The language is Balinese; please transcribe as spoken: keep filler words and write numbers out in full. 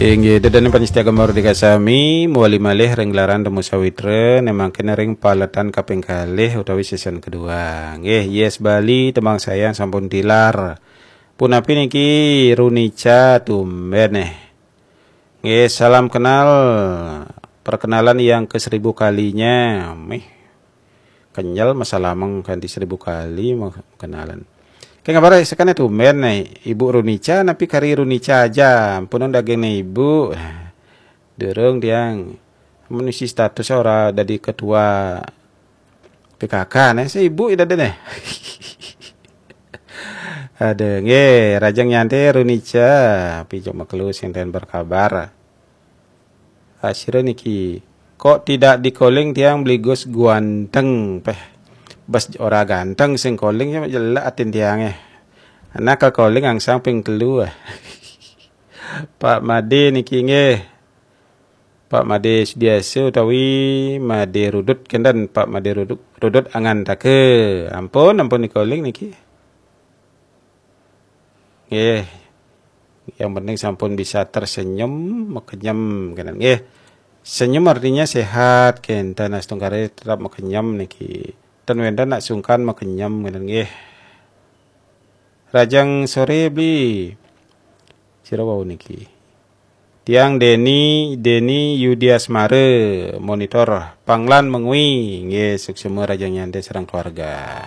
Inggih, ida dané panyestia Gema Merdeka sami, mawali malih ring gelaran Temu Sawitra, né mangkin ring paletan kaping kalih utawi season kedua. Nggih, Yes Bali, tembang sayang sampun tilar. Punapi niki Runica tumbén, eh. Nggih, salam kenal. Perkenalan yang ke seribu kalinya. Mih. Kenyel masalameng kanti seribu kali ma-, kenalan. Kenging kabar sakané tumbén, eh, Ibu Runica, napi kari Runica aja? Ampun daging Ibu. Durung tiang. Mun isi status ora dadi ketua P K K, né, si Ibu ida dene. Aduh, nggih, Rajang Nyanté Runica, pijak makelu sing ten berkabar. Asira niki, kok tidak di-calling tiang Bli Gus guanteng, peh. Bas ora ganteng sing calling, ya jelek atin tiangé. Anak ke calling angsang ping telu, ah. Pak Made niki nggih. Pak Made Sudiasa utawi Made Rudut kenten, Pak Made Rudut, Rudut Angantaka. Ampun, ampun di-calling niki. Nggih. Yang penting sampun bisa tersenyum, makenyem kenten. Nggih. Senyum artinya sehat, kenten astungkare tetap makenyem niki. Ten wenten nak sungkan makenyem kenten nggih. Rajang sore, Bli. Sira wau niki. Tiang Deni, Deni Yudiasmara, monitor Panglan Mengwi. Nggih, suksema Rajang Nyanté sareng keluarga.